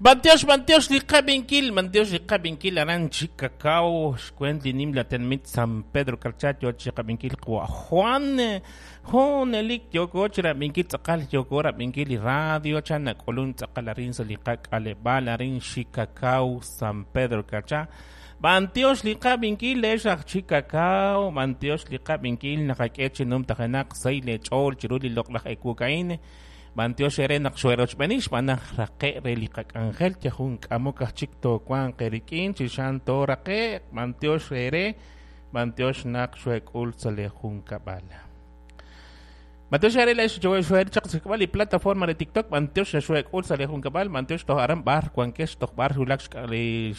B'antiox, b'antiox li qab'inkil, b'antiox li qab'inkil aran Chicacao, xkwent li nimla tenamit San Pedro Carchá yo chi qab'inkil qawa' Juan. Junelik yooko chi rab'inkil tz'aqal yooko rab'inkil li radio chan nak'ulun tz'aqal arin sa' li qak'aleb'aal arin Chicacao, San Pedro Carchá. B'antiox li qab'inkil leex aj Chicacao, b'antiox li qab'inkil naqak'e chi numtajenaq sahil eech'ool chiru li loq'laj ewuk a'in. B'antiox eere naq xoo'erochb'eeni xb'aan naq raqe' re li qak'anjel yal jun k'amok aj chik toowanq eerik'in chi xan tooraqe'q. B'antiox eere, b'antiox naq xoek'ul sa' lee junkab'al. B'antiox eere leex xoe'el chaq xsik'b'al li plataforma re TikTok, b'antiox naq xoek'ul sa' lee junkab'al, b'antiox toj aran b'ar wankex toj b'ar wulak li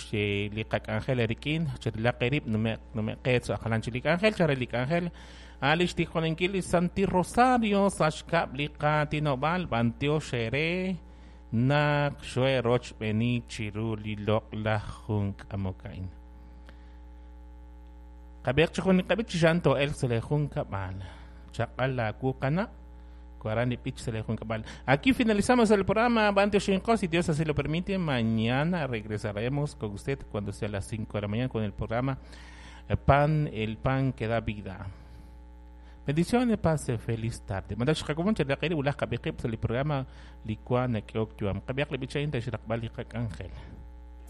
li qak'anjel eerik'in, cherilaq eerib' nume'q nume'qeet sa' jalan chik li k'anjel, chare li k'anjel. A' li xtijolenkil li Santi Rosario sa' xkab' li qaatinob'aal b'antiox eere naq xoe'rochb'eeni chiru li loq'laj jun k'amok a'in. Qab'iiq chi jun li qab'ich chi xan too'elq sa' lee junkab'al. Chaq'al laawu qana', aran li b'ich sa' lee junkab'al. Aquí finalizamos el programa B'antioxinqo, si Dios así lo permite, mañana regresaremos con usted cuando sea las 5 de la mañana con el programa Pan, el pan que da vida. Bendiciones, pase feliz tarde. Mandax qakomon chalaqiri wulaj qab'i qib' sa' li programa li wa nak'ehok yu'am. Qab'ihaq li b'ich a'in re xraqb'al li qak'anjel.